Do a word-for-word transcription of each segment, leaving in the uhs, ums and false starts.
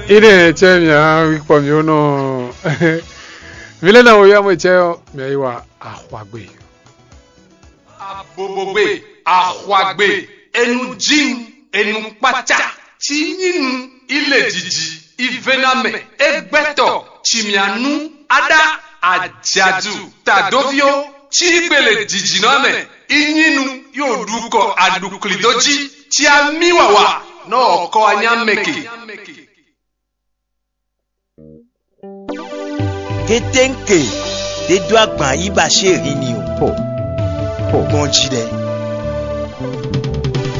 Ine cɛ mia wikpɔ mio nɔ. Vile na wo ya mo cɛ mia yi wa axwagbe. Abobogbe, axwagbe, enu jin, enu kpata, ci nyinu, ile jiji, ivenamɛ, egbɛtɔ, cimianu, ada, ajadu, tadovio, ci gbele jijinɔ mɛ, inyinu, yo ɖukɔ aɖuklidó jí, ci ami wawa, nɔ ɔkɔ anyamɛke. Kéténke ɖé dó agban yí ba ṣé rin ni o. Gbɔn jí ɖɛ.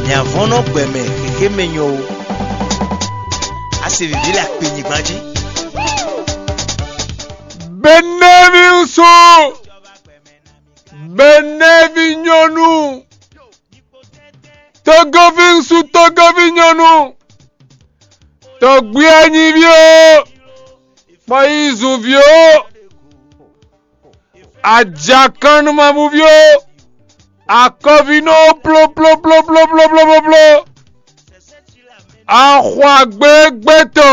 Nyavɔ́nɔ gbɛ mɛ xexé mɛ nyɔ o. A se vǐví le akpe nyigban jí. Benɛvi ŋsu, benɛvi nyɔnu, togovi ŋsu, togovi nyɔnu, tɔgbí anyíví o, kpɔyízunví o, ajakannumamúví o, akɔvínɔ plóplóplóplóplóplópló, axwagbégbétɔ,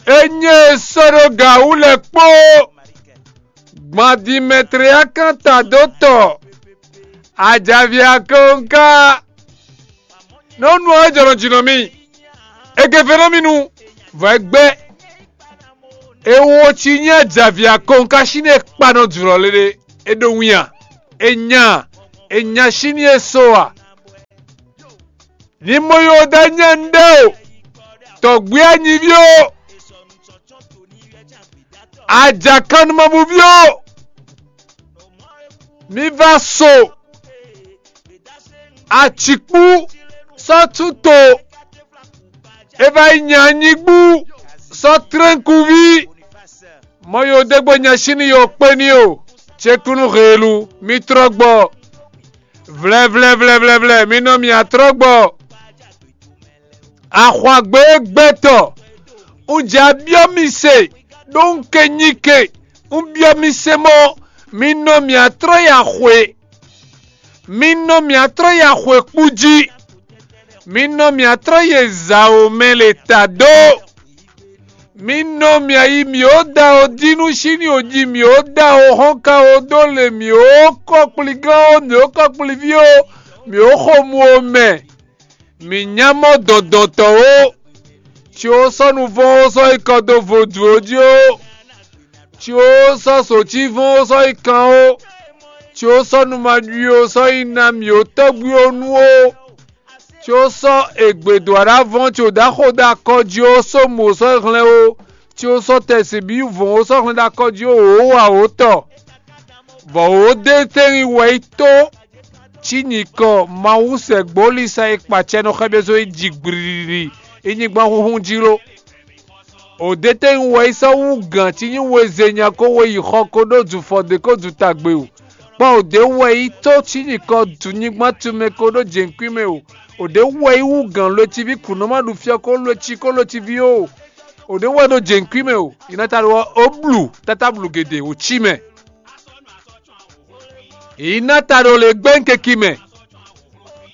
é nyí e sɔ́ ɖó gǎ wú lɛ́ɛ kpó, gbɔn Dimɛtliakán tadótɔ, ajavǐ akɔnká, nɔ́ nu ɔ́ jɔnɔ jǐ nɔ mì, è gevě nɔ mì nu, vɔ̌ é gbɛ́. È wo cí nyí ajavǐ akɔnká sín e kpa nɔ jlɔ̌ lé ɖé, é ɖó winnya, è nya, è nya sín e so a? Ní mo yó dá nyɛ nɖé o, tɔgbí anyíví o, ajakannumabúví o, mi va so acǐkpú sɔ́ túto, é va yi nya anyígbú sɔ́ tlɛ́nkúví. Mɔ yo ɖé gbe nya sín yo kpé ní o, cékúnú heelu, mi trɔ́ gbɔ. Vlɛvlɛvlɛvlɛvlɛ, mi nɔ mì atrɔ́ gbɔ. Axwagbégbɛtɔ, un jɛ abyɔ́ mi se, ɖó un ke nyi ke, un byɔ́ mi se mɔ, mi nɔ mì atrɔ́ yi axwe. Mi nɔ mì atrɔ́ yi axwe kpú jí. Mi nɔ mì atrɔ́ yi zǎ o mɛ le ta dó. Mi nɔ mì ayi mǐ ó da o dínú sín o ji mǐ ó da o hɔn ka o dó le mǐ ó kɔkplígán ó mǐ ó kɔkplíví ó mǐ ó xo mu o mɛ. Mǐ nya mɔ dɔ̌ndɔ́ntɔ́ ó, ci ó sɔ́ nuvɔ́n ó sɔ́ yi kɔ dó vodún ó jí ó, ci ó sɔ́ sǒcívɔ́n ó sɔ́ yi kan ó, ci ó sɔ́ numaɖui ó sɔ́ yi ná mǐ ó tɔ́gbí ó nu ó, ci ó sɔ́ ègbědó aɖavɔ́n ci ó ɖaxó ɖo akɔ jí ó só mǒ sɔ́ hlɛ́n ó, ci ó sɔ́ tɛsibí vɔ̌n ó sɔ́ hlɛ́n ɖo akɔ jí ó wǒ wa ó tɔ, bɔ wǒ dé tɛ́nwin wɛ yi tó. Cí nyǐkɔ Mawu sɛgbó lisa e kpa acɛ nɔ xɛ́ ɖésú yi ji gblǐlílí yi nyigban xúxún jí ló. Odetɛ́nwun wɛ yi sɔ́ wú gǎn cí nyí wezenya ko we yi xɔ ko ɖó dufɔ ɖě ko dutagbe o. Kpɔ́n odě wɛ yi tó cí nyǐkɔ nyigban tunmɛ ko ɖó jěnkwín mɛ o. Odě wɛ yi wú gǎn lweciví kǔnɔmá ɖu fyɔ ko lweci ko lweciví o. Odě wɛ ɖó jěnkwín mɛ o. Yi ná ta ɖo ɔ́, ó blu tátáblu gědě wǒ cí mɛ. Yi ná ta ɖo lě gbɛ́nkeki mɛ.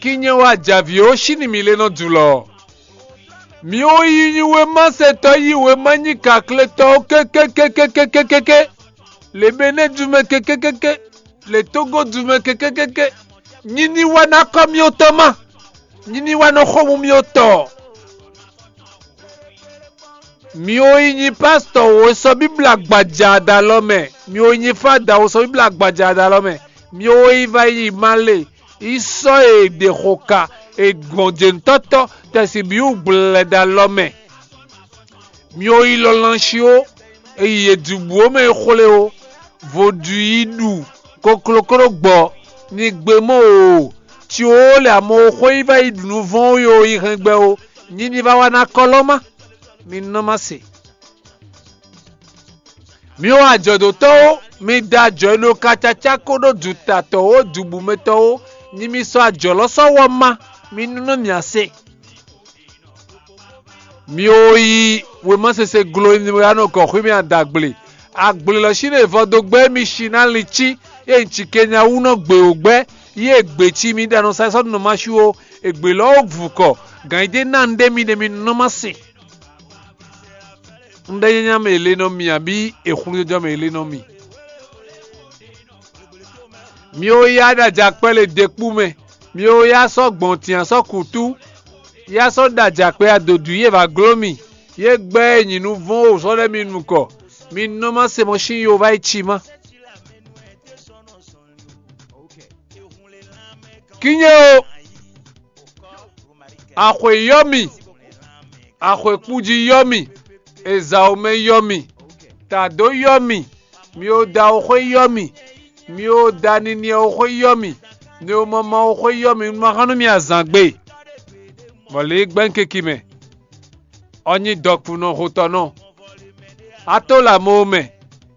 Kinyɛ wá jǎví ó sín mǐ lé nɔ dulɔ. Mǐ ó yi nyi wěma sɛtɔ́ yi wěma nyi kakletɔ́ ó kékékékékékéké. Lě Benɛ́ dumɛ kékékéké. Lě Tógó dumɛ kékékéké. Nyi ní wá ná kɔ́ mì ó tɔ́ má. Nyi ní wá nɔ xó mú mì ó tɔ. Mi wo yi nyi pásítọ̀ wo sɔ́ Bíbla gbaja ɖo alɔ mɛ, mi wo yi nyi fáda wo sɔ́ Bíbla gbaja ɖo alɔ mɛ, mi wo yi va yi malé yi sɔ́ e ɖe xo ka e gbɔn jěnutɔ́tɔ́ tɛsibíwú gblɛlɛ ɖo alɔ mɛ. Mi wo yi lɔlɔnsi ó, e yi e dubu ó mɛ e xwlé ó, vodúi ɖu koklókló gbɔ, ní gbé mɔ o, ci ó lɛ amɔ xó yi va yi ɖu nuvɔn ó yo yi hɛn gbɛ ó, nyí ní va wá ná kɔlɔ́ má, mi nɔ má se. Mi wá ajɔ̌dótɔ́ ó, mi da ajɔ̌ e nɔ ka cacá kó ɖó dutatɔ́ ó, dubumɛtɔ́ ó, nyí mi sɔ́ ajɔ̌ lɔ sɔ́ wɔ má, mi nɔ nɔ mì ase. Mi wo yi wěma sese glo e mi wá nɔ gɔ̌ xwé mɛ adagble. Agble lɔ sín e vɔ dó gbɛ́ mi si ná lincí, ée un ci kenya wú nɔ gbě wǒ gbɛ́, yi e gbě cí mi ɖo anɔ sa sɔ́ nɔ ma sú ó, ègbě lɔ ó vukɔ, gǎn yi ɖé ná un ɖé mi ɖe mi nɔ má se. Un ɖe nyanya mɛ è le nɔ mì abǐ è xlú jɔjɔ mɛ è le nɔ mì. Mi ó yá ɖo ajakpɛ́ le ɖekpú mɛ, mi ó yá sɔ́ gbɔntin sɔ́ kǔtú, yá sɔ́ ɖo ajakpɛ́ adodǔ yě va gló mì, yě gbɛ́ e nyǐ nu vɔ́n o sɔ́ ɖɛ́ mi nukɔn, mi nɔ má se mɔ sín yo vá yi ci má. Kínnyé o, axwe yɔ́ mì, axwekpújí yɔ́ mì, ezǎwomɛ yɔ́ mì, tǎdó yɔ́ mì, mi o da o xwé yɔ́ mì, mi o da niniɛ o xwé yɔ́ mì, mi o mama o xwé yɔ́ mì, un ma hán nú mi azǎn gbe, bɔ lě gbɛ́nkeki mɛ, ɔ́ nyí dɔkun nɔ hotɔ́ nɔ. Ató lě amo mɛ,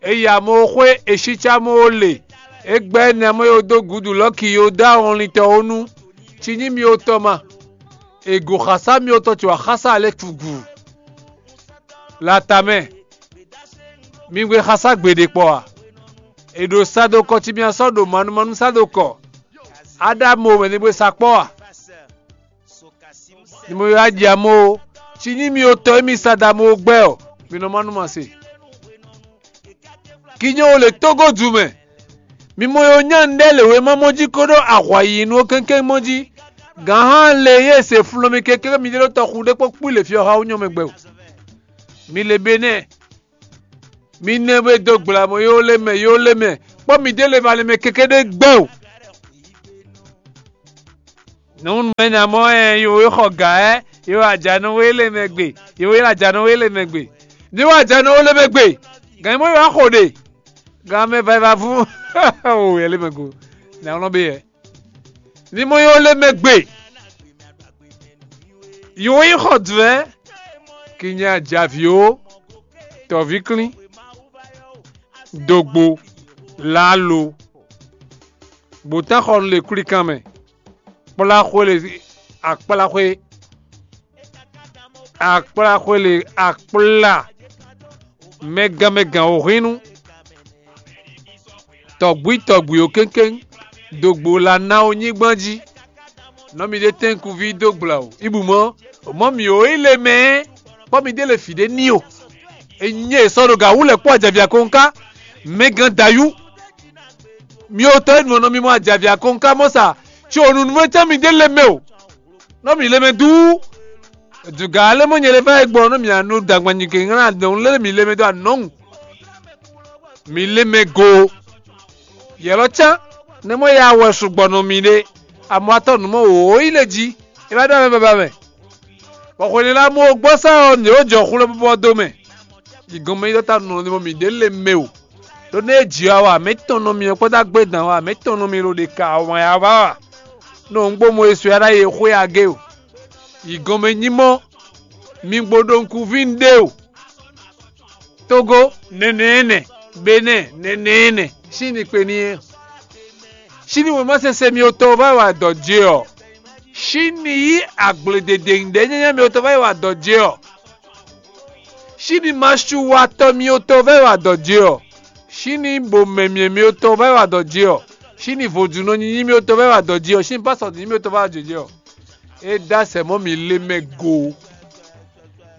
è yi amo xwé, è sícá mɔ ó le, é gbɛ́ nɛmɔ e dó gǔdu lɔ̌ki Yordán wlintɔ́ ó nu, ci nyí mi otɔn ma, è gu xasá mi otɔn ce wǎ xásá lɛ́ɛ cugǔ. Lata mɛ, mi gbe xasá gbeɖé kpɔ a? È ɖo sa dó kɔ ci mi sɔ́ ɖo manumanu sa dó kɔ, á ɖó amo mɛ ní gbe sa kpɔ́ a? Ni mo yɔ aji amo o, ci nyí mi otɔn e mi sa dó amo gbɛ ɔ, mi nɔ má nú ma se. Kinyɔ́ o le tógódu mɛ, mi mɔ yɔ nyá nɖɛ lě wéma mɔ jí kóɖó ahwa yiyinu ɔ́ kɛ́nkɛ́n mɔ jí. Gǎnhán le yě se flɔ́n mi kɛkɛ́ mi ɖé ɖó tɔxu ɖé kpó kpú le fí ɔ́ xá wú nyɔ́ mɛ gbɛ o. Mi le be nɛ́, mi nɛ be dó gbla mɔ yó lé mɛ yó lé mɛ, kpɔ́ mi ɖé le ma le mɛ kɛkɛ́ ɖé gbɛ o. Nǔ mɛ nya mɔ ɛ yo e xɔ gǎ ɛ, yo ajanu wé lé mɛ gbe, yo e ajanu wé lé mɛ gbe. Ní wá ajanu wé lé mɛ gbe, gǎn mɔ yo axo ɖe, gǎn mɛ va va fún o yɛ lé mɛ go, nǎ wlɔ́ bé yɛ. Ní mɔ yo lé mɛ gbe, yo yi xɔ dvɛ̌, kì nya javí o, tɔ̌ví klín, dogbo, lalo, gbǒtán xɔ nú lě kwlíkan mɛ, kplá xwé le akplá xwé, akplá xwé le akplá, mɛgán mɛgán wǒhwínnu, tɔ̌gbwí tɔ̌gbwí ó kéŋkéŋ, dogbo la ná ó nyígbán jí. Nɔ mi ɖe tɛ́nkuví dó gbla o, ibu mɔ, mɔ mì ó yi le mɛ, kpɔ́ mi ɖé le fǐ ɖé ní o. Enyi e sɔ́ ɖo gǎ wú lɛ́ kpó ajavia kɔnká, mɛgán dayú. Mi ò tɔ́ nǔ ɔ́ nɔ mi mɔ ajavia kɔnká mɔ sa, tso nǔnúmɛtɔ́ mi ɖé lé mɛ o. Nɔ mi lé mɛ duu. Dugǎ lé mɔ nyɛ lé fá e gbɔ nɔ mi anu dagban nyi ke ŋlá dɔn lé mi lé mɛ dó anɔŋu. Mi lé mɛ go. Yɛlɔ cán, ne mɔ ya wɛ sugbɔ nɔ mi ɖe, amɔ atɔ nǔ mɔ wǒ yi lé jí, é vá ɖɔ mɛ baba mɛ. Bɔ xwelila mɔ gbɔ sá ɔ, nǐ ó jɔ xwlé bɔbɔ dó mɛ. Yi gɔn mɛ yi ɖɔ ta nɔ ni mɔ mi ɖě lé mɛ o. Ɖó nú é jǐ wa wa mǐtɔn nɔ mi ɔ́ kpódó agbédan wa mǐtɔn nɔ mi ɖo ɖe ka wǎn ya wa wa. Nɔ un gbó Mɔyísu ya ɖ'ayǐ e xwé agé o. Yi gɔn mɛ nyí mɔ, mi gbo ɖo nukúnví ɖé o. Togo nɛnɛ nɛ, Benɛ nɛnɛ nɛ, sín ni kpe ní é. Sín ni wěma sese mi otɔn va yi wa dɔ̌ jɛ ɔ. Sín ni yí agble dede ɖɛ̌ nyanya mi otɔn va yi wa dɔ̌ jɛ ɔ. Sín ni masu watɔ mi otɔn va yi wa dɔ̌ jɛ ɔ. Sín ni bo mɛmyɛ mi otɔn va yi wa dɔ̌ jɛ ɔ. Sín ni vodúnɔ nyinyi mi otɔn va yi wa dɔ̌ jɛ ɔ. Sín ni pásɔ nyinyi mi otɔn va yi wa dɔ̌ jɛ ɔ. É dó asɛ mɔ̌ mi lé mɛ go.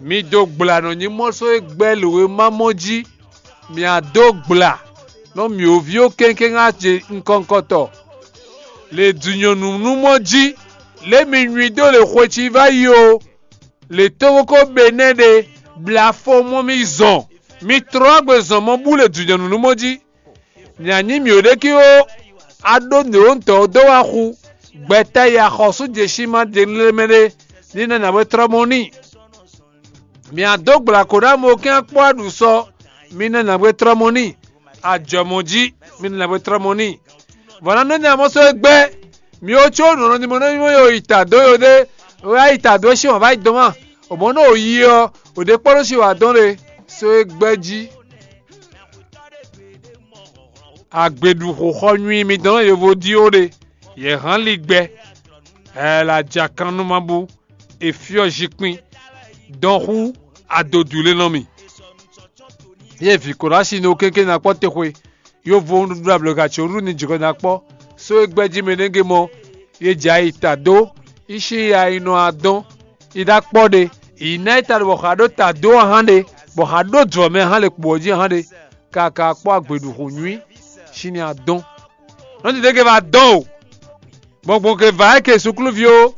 Mi dó gbla nɔ nyi mɔ sɔ́ e gbɛ́ lǒ e ma mɔ jí. Mi a dó gbla nɔ mǐ ó ví ó kɛnkéŋ a ce ŋkɔŋkɔtɔ. Le dǔnyɔnǔnúmɔ jí, lě mi nywí dó le xwe ci va yi o, le tóxóxó be nɛ́ ɖe, bla fo mɔ mi zɔn, mi tlɔ́ agbe zɔn mɔ bú le dǔnyɔnǔnúmɔ jí. Nya nyí mǐ ɖékíxo, a ɖó nǔɖoŋutɔ́ dó wá xú, gbɛtɛ́ yi axɔ́sú jěsí ma ɖe lé mɛ ɖé, ní nɛ nǎwe tlɔ́ mɔ n'i. Mǐ a dó gbla kǒ ɖó amɔkɛ́n akpɔ́ aɖǔ sɔ, mi nɛ nǎwe tlɔ́ mɔ n'i. Ajɔ̌mɔjí, mi nɛ nǎwe tlɔ́ mɔ n'i. Vɔ̌ ná nɔ́ nya mɔ sɔ́ é gbɛ́, mi ó có nǔ nɔ ní mɔ nɔ́ nyí mɔ yi ta dó yo ɖé, wɛ á yi ta dó é sín wǎn vá yi dɔn má. Ò mɔ̌ nɔ ò yi ɔ́, ò ɖě kpɔ́ nɔ sin wǎ dɔn ɖe, sɔ́ é gbɛ́ jí. Agbeɖuxoxɔ nyui mitɔn nɔ yovo ɖíó ɖe, yě hán ligbɛ, ɛɛ la ja kan nú ma bú, è fyɔ́ zinkpin, dɔn xú adodǔ lé nɔ mì. Yě vǐ Korási nɔ kéké ná kpɔ́ texwe, yovo nǔɖuɖu ablɔ̌ga ce nǔɖuɖu ní jǐxɔ ná kpɔ́, só e gbɛ́ jí mɛ nɛ́ gé mɔ, yě jɛ ayi ta dó, yi sín ya yi nɔ adɔn, yi ɖó akpɔ́ ɖe, yi ná yi ta ɖo bɔ xǎ ɖó ta dó ɔ́ hán ɖe. bɔ xa ɖó dlɔ̌ mɛ hán le kpo ɔ́ jí hán ɖe, kaka kpɔ́ agbeɖuxo nyui sín ní adɔn. Nɔ́ ti ɖé ke va dɔn o, gbɔngbɔn ke va é ke súkluví ó,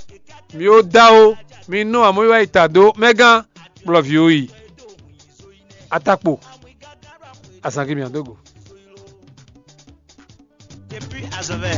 mi ó dá ó, mi nú amɔ̌ yi wá yi ta dó mɛgán kplɔ́ví ó yi. Atakpo, azǎn ke mǐ dó go. Depuis Azovɛ,